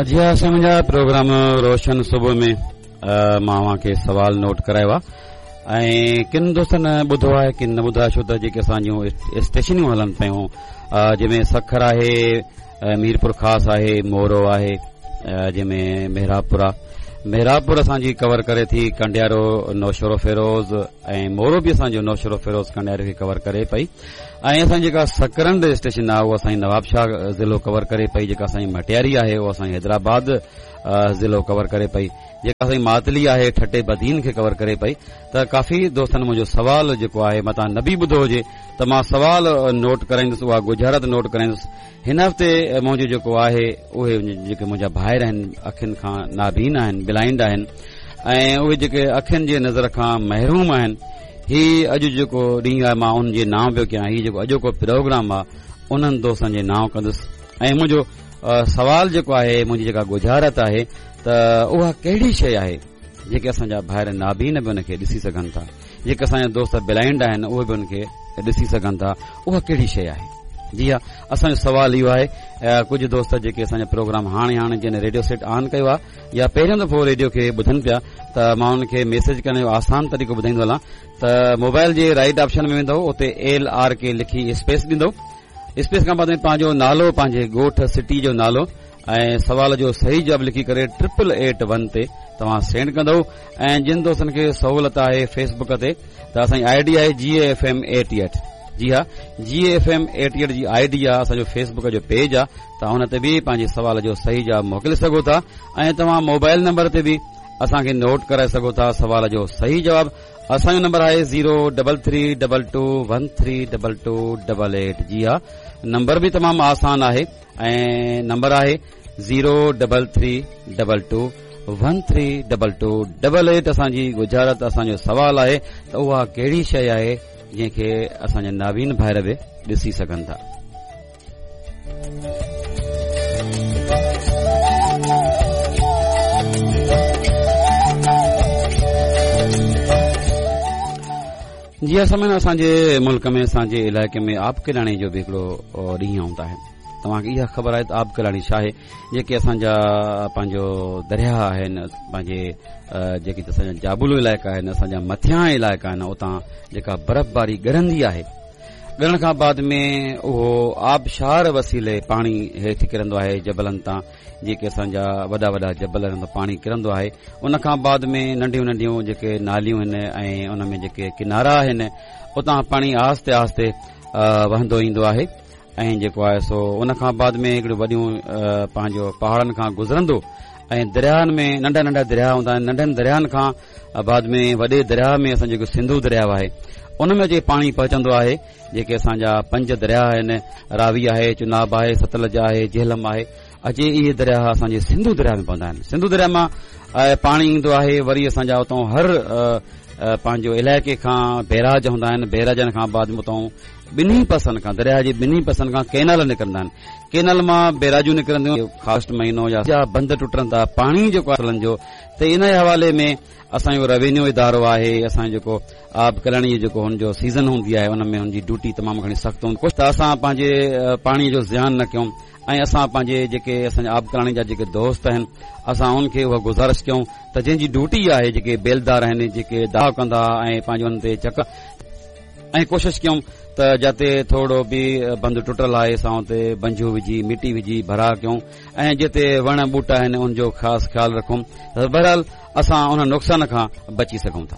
جي ها سائين منهنجا پروگرام روشن صبح ۾ مان اوهان کي سوال نوٽ ڪرايو آهي ۽ ڪن دوستن ٻڌو آهي ڪن نه ٻڌو آهي ڇو ته جيڪي اسان جون اسٽيشنيون هلن پيون جنهن ۾ سکر آهي ميرپور خاص آهي مورو آهي جنهن ۾ محرابپور آهي محرابپور اسان جي ڪور ڪري ٿي ڪنڊيارو نوشهرو فيروز ۽ مورو به اسان جو نوشهرو فيروز ڪنڊيارو کي ڪور ڪري پئي ۽ اسان جي جيڪا سڪرنڊ اسٽيشن آهي اها اسان جي نواب شاهه ضلعو ڪور ڪري پئي جيڪا اسان جي مٽياري آهي اها اسان جي حيدرآباد ضلعو ڪور ڪري پئي جيڪا اسان جي ماتلي آهي ٺٽي بدين کي ڪور ڪري پئي ته ڪافي دوستن منهنجو سوال جيڪو آهي متان نه به ٻڌو هجي ته مان سوال نوٽ ڪرائيندس اها ڳجهارت نوٽ ڪرائيندس هن هفتي منهنجو جيڪو آهي اهي جيڪي منهنجا ڀائر آهن اکين کان نابين آهن بلائنڊ آهن ۽ اهي جيڪي اکين جي نظر کان محروم آهن هي اڄ جيڪو ڏينهن آهي مان انهن جي نانء پيو ڪيان هي جيڪو اڄوڪو پروگرام آهي انهن دوستن جي نانء ڪندس ۽ منهنجو سوال جيڪو آهي منهنجي جيڪا ڳجهارت آهي ته اها ڪهڙي شيء آهي جيڪي اسان جا ڀائر نابين به ان کي ڏسي سگهن ٿا جيڪي اسان جا دوست بلائنڊ آهن اهي به ان کي ڏسي سگهن ٿا اها ڪهڙي شيء آهي جي ها اسان جو سوال اهو آهي ڪجهه دوست جيڪي اسان جا پروگرام هاڻي هاڻي جن ريڊيو سيٽ آن ڪيو آهي يا پهريون دفعو ريڊيو کي ٻڌن پيا ته مان انهن کي ميسيج ڪرڻ جو آسان طريقو ٻڌائيندو هلان ته موبائل جي رائٽ آپشن ۾ ويندو اتي ايل آر ڪي لکي اسپيس ڏيندو اسپيس کان بعد ۾ پنهنجو نالو پنهنجي ڳوٺ سٽي جو نالو ۽ سوال جو صحيح جواب لکي ڪري ٽرپل ايٽ ون تي توهان سينڊ ڪندو ۽ جن دوستن کي سهولت آهي فيس بڪ تي ته اسان جي I D آهي جي اي ايف ايم ايٽي ايٽ جي ها جي اي ايف ايم ايٽي ايٽ جي I D آهي اسان جو فيس بڪ جو پيج آهي توهان ان تي به پنهنجي سوال جو صحيح جواب موڪلي سگهو ٿا ۽ توهان موبائل نمبر تي به اسان کي نوٽ ڪرائي سگهو ٿا سوال جو صحيح جواب اسان جو نمبر آهي zero double three double two one three double two double eight جي ها نمبر به تمام آسان آهي ۽ نمبر آهي zero double three double two one three double two double eight اسان جي ڳجهارت اسان جو سوال آهي ته اها ڪهڙي شيء آهي جنهن کي اسان جا نابين ڀائر به ڏسي سگهن ٿا. جي ها سامعين اسان جي ملڪ ۾ اسان جي علائقي ۾ آب ڪلاڻي جو به هڪڙو ڏينهن هوندا آهن توهان کي اها خبر آهي ته آب ڪلاڻي ڇا آهي جيڪي اسان جا پنهنجو درياهه آهن پنهنجي جيڪي اسان جا جابلو علائقا آهن اسان جا مٿيان علائقا آهن اتان جيڪا برف باري ڳرندي آهي ڳرڻ کان بعد ۾ اهو آبشار وسيلي پاڻي هيٺ ڪرندو آهي جبلن تان جيڪي اسان جا وڏا وڏا جبل آهن پاڻي ڪرندو آهي ان کان بعد ۾ ننڍيون ننڍيون جيڪي ناليون آهن ۽ ان ۾ جيڪي ڪنارا آهن اتان پاڻي آهستي آهستي وهندو ايندو آهي ۽ جيڪو آهي سو ان کان بعد ۾ هڪڙيون وڏيون پنهنجو پهاڙن کان گذرندو ۽ درياهن ۾ ننڍا ننڍا درياهه هوندا آهن ننڍن درياهن کان بعد ۾ وڏي درياهه ۾ اسان جيڪو سنڌو درياهه آهي ان ۾ اچي پاڻي پهچندو آهي جيڪي اسان جا پنج درياهه آهن راوي آهي چناب آهي ستلج آهي جهلم آهي اچي اهي درياهه اسان جي سنڌو درياهه ۾ پوندا آهن سنڌو درياهه مان پاڻي ايندو آهي وري اسان جا اتان هر پنهنجو علائقي کان بيراج هوندا آهن بيراجن کان بعد اتان ٻنهي پاسن کان درياهه جي ٻنهي پاسن کان ڪينال نڪرندا آهن ڪينال مان بيراجون نڪرنديون خاص مهينو يا بند ٽٽن ٿا پاڻي جيڪو آهي جو ته ان حوالي ۾ اسان جو روينيو ادارو آهي اسان جيڪو آب ڪلڻي جيڪو هن جو سيزن هوندي آهي ان ۾ هن جي ڊيوٽي تمام گهڻي سخت هوندي ڪجهه ته اسان پنهنجي پاڻي جو زيان نه ڪيون ۽ اسان پنهنجي جيڪي اسان جا آب ڪلاڻي جا جيڪي دوست آهن اسان انهن کي اها گذارش ڪيون ته جنهن جي ڊيوٽي آهي جيڪي بيلدار آهن جيڪي داء ڪندا ۽ پنهنجو انهن تي چڪ ۽ ڪوشش ڪيون ته جتي ٿورو به بند ٽٽل آهي اسان اتي بنجو وجهي مٽي وجهي ڀرا ڪيون ۽ جتي وڻ ٻوٽا آهن ان جو خاص خيال رکون ته بهرحال اسان ان نقصان کان بچي سگهون ٿا.